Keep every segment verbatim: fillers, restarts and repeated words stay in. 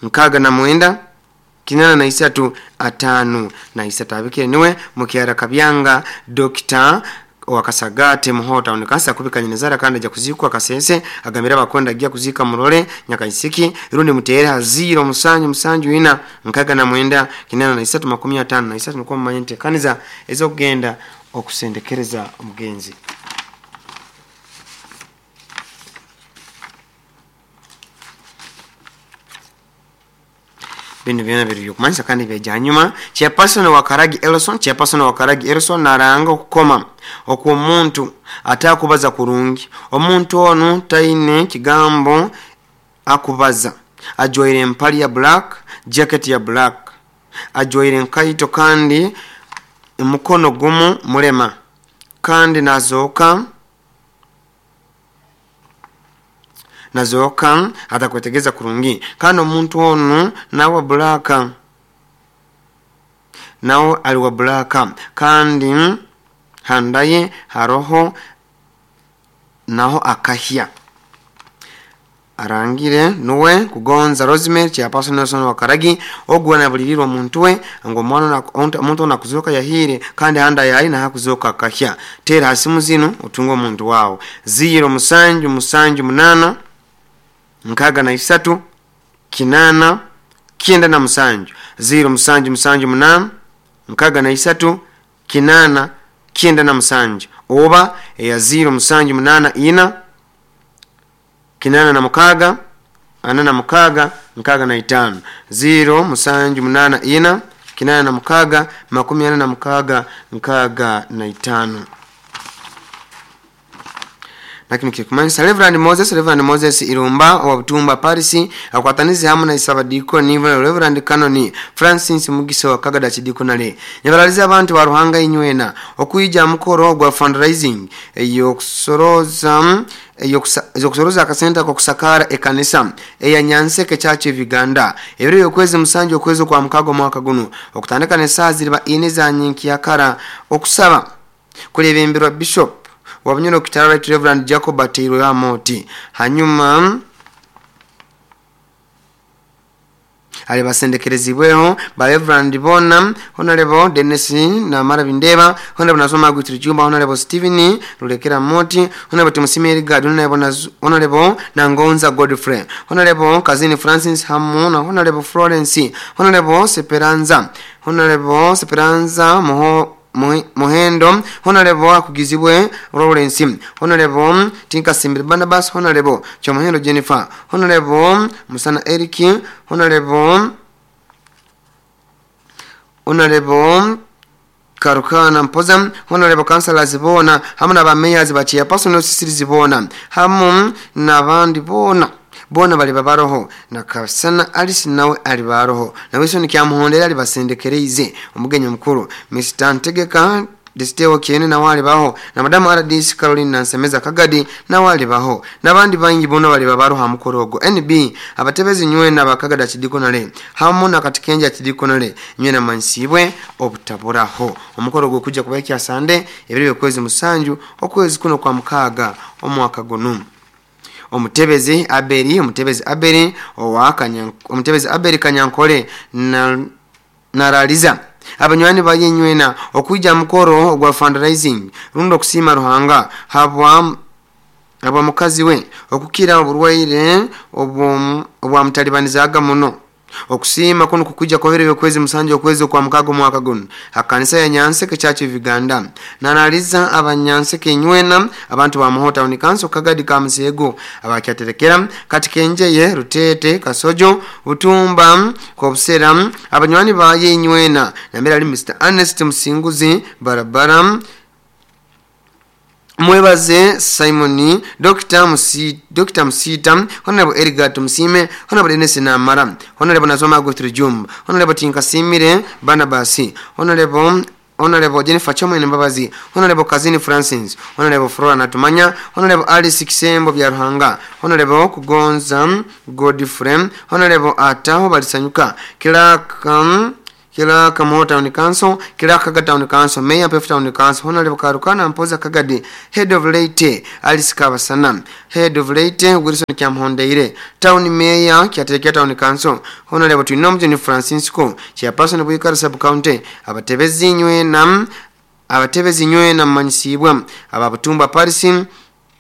nkaga na mwenda kinana na isatu atano na isatu. Abikire niwe mukyara Kabyanga Doctor wakasagate muhota onikasa kubika nyinezara kandi aja kuzikwa kasese agambira bakonda agiya kuzika murole nyakaisiki rundi mutere haziro musanju musanju ina nkaga na mwenda kinana na isatu makumi atano na isatu nuko mumanyente kaniza ezo kugenda okusendekereza omugenzi. Bino byona biri kumanyisa kandi bya nyuma. Chairperson wa Karagi Elson, chairperson wa Karagi Elson naranga okukoma okwo omuntu atakubaza kurungi. Omuntu onu taine kigambo akubaza, ajwaire empali ya black, jacket ya black, ajwaire enkaito kandi mukono gumu mulema kandi nazoka nazoka atakwetegeza kurungi. Kandi omuntu onu nawe black, nawe aliwa black kandi handaye haroho naho akahya. Arangire nuwe kugonza Rosemary chairperson Nelson wa Karagi ogwa na bulirirwa omuntu we ngo mwana omuntu onakuzoka yahire kandi handa yayi na hakuzoka akahya. Tera hasimu zino utunga omuntu wawo ziro musanju musanju munana nkaga na isatu kinana kienda na musanju ziro musanju musanju munana nkaga na isatu kinana kienda na musanju oba ya ziro musanju munana ina kinana na mukaga ana na mukaga nkaga na itano ziro musanju munana ina kinana na mukaga makumi ana na mukaga nkaga na itano. Lakini kikumanyisa Reverend Moses, Reverend Moses Irumba wa Butumba Paris akwatanize hamwe na Isabadiko nivo Reverend Kanoni Francis Mugiso wa Kagada Chidikonale nyabaraliza abantu ba Ruhanga inywena okuija mukoro gwa fundraising eyokusoroza eyokusoroza akasenta ko kusakara ekanisa eya Nyanseke Church of Uganda ebiro yokwezi musanju okwezi kwa mukago mwaka guno okutandika ne saa ziriba ine za nyinki yakara okusaba kulebemberwa Bishop wabunyoro kitara Right Reverend Jacob Ateirwe Amoti. Hanyuma ali basendekerezibweho ba Reverend Bona, Honorable Dennis na Marabindeba, Honorable Nasoma Gutrijumba, Honorable Steven Rulekera Moti, Honorable Timusimeri Gad, Honorable Honorable Nangonza Godfrey, Honorable Kazini Francis Hamuna, Honorable Florence, Honorable Seperanza, Honorable Seperanza Moho Mohendo, Honorable Akugizibwe Lawrence, Honorable Tinka Simbiri Barnabas, Honorable Chomohendo Jennifer, Honorable Musana Eric, Honorable Honorable Karukana Mpoza, Honorable Councillors bona hamu na ba mayors ba chairperson osisirizi bona hamu n'abandi bona bona bali babaroho na Kasana Alice nawe ali baroho na Wilson Kyamuhondera ali basendekereize omugenyi mukuru Mister Ntegeka Desteo Kiene na wali baho na Madam R D C Caroline Nansemeza Kagadi na wali baho nabandi bangi bona bali babaroha mukorogo N B abatebezi nywe na bakagada chidikonale hamu na katikenja chidikonale nywe na mansibwe obutaburaho omukorogo kujja kubaikya sande ebiri okwezi musanju okwezi kuno kwa mukaga omwaka guno. Omutebezi Aberi, omutebezi Aberi owa Kanya, omutebezi Aberi Kanyankole na naraliza abanywani bayenywena okuija mukoro gwa fundraising rundo kusima Ruhanga habwa habwa mukazi we okukira oburwaire obwa mutalibanizaga muno. Okusima kuno kukuja kwa vile kwezi musanju okwezi kwa mukago mwaka guno akanisa ya Nyanseke Church of Uganda nanaliza abanyanseke nywena abantu ba Muhota unikanso Kagadi ka Musego abakyaterekera Katikenjeye Rutete Kasojo Butumba Kobusera abanywani ba yenywena nambera ali Mister Ernest Musinguzi Barabara Mwebaze Simoni, Doctor Musi, Doctor Musita, Honorable Edgar Musime, Honorable Dennis Namara, Honorable Nazoma Gutri Jumba, Honorable Tinkasimire Barnabasi, Honorable Honorable Jennifer Chomwe Mbabazi, Honorable Kazini Francis, Honorable Flora Natumanya, Honorable Alice Kisembo bya Ruhanga, Honorable Kugonza Godfrey, Honorable Ataho Balisanyuka, Clerk Clerk Mo Town Council, Clerk Kagadi Town Council, Mayor Pef Town Council, Honorable Karukana Mpoza Kagadi, Head of Leyte Alice Kabasana, Head of Leyte Wilson Kyamhondeire, Town Mayor Kyaterekya Town Council, Honorable Twinomujuni Francisco, Chairperson Bwikara Sub County, abatebezi nywena abatebezi nywena mmanyisibwa ababutumba Paris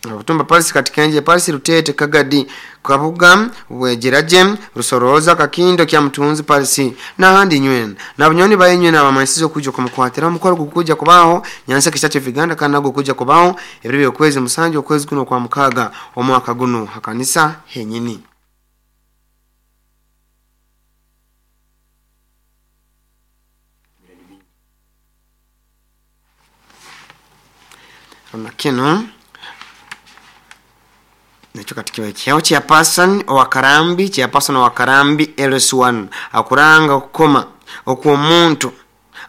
ababutumba Paris Katikenje Paris Rutete Kagadi Kabuga Wejeraje Rusoroza Kakindo kya Mutunzi Paris n'ahandi nywena nabunyoni bayenywe nabamanyisizo kuja kumukwatira omukoro gukuja kubaho nyansa kishacho viganda kana gukuja kubaho ebiro byokwezi musanju okwezi kuno kwa mukaga omwaka guno hakanisa henyini. Kino nakyo kati kibaho chairperson owa Karambi, chairperson owa Karambi L S one akuranga okukoma okw'omuntu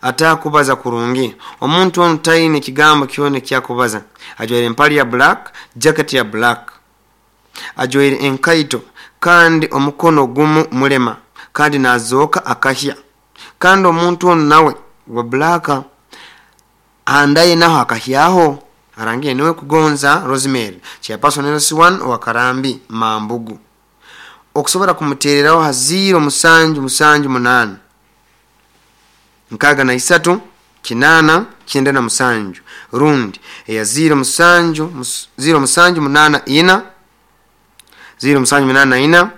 atakubaza kurungi. Omuntu ono taine kigambo kyone kyakubaza, ajwaire empali ya black, jacket ya black, ajwaire enkaito kandi omukono gumu mulema kandi nazoka akahya, kandi omuntu ono nawe wa black andaye naho akahyaho arangiye niwe kugonza Rosemary, chairperson L S one wa Karambi Mambugu. Okusobora kumutereraho ha zero musanju musanju munana nkaga na isatu kinana kyenda na musanju rundi eya zero musanju zero musanju munana ina zero musanju munana ina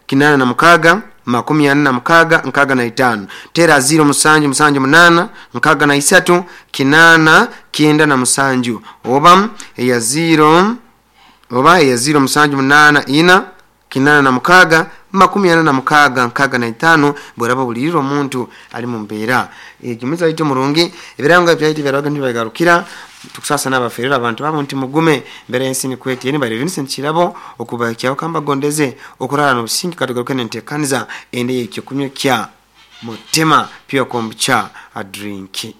kinana na mukaga makumi ana na mukaga nkaga na itano tera zero musanju musanju munana nkaga na isatu kinana kyenda na musanju oba eya zero oba eya zero musanju munana ina kinana na mukaga makumi ana na mukaga nkaga na itano bweraba buliriro omuntu ali mu mbeera egimuza ito murungi ebiranga byayiti byaraga ntibagarukira tukusasa n'abaferera abantu babo nti mugume mbere y'ensi nikweti yeni bari Vincent Kirabo okubakyaho kamba gondeze okurara n'obusingi katugaruke n'enteekaniza ende y'ekyokunywa kya Mutema Pure Kombucha a drink.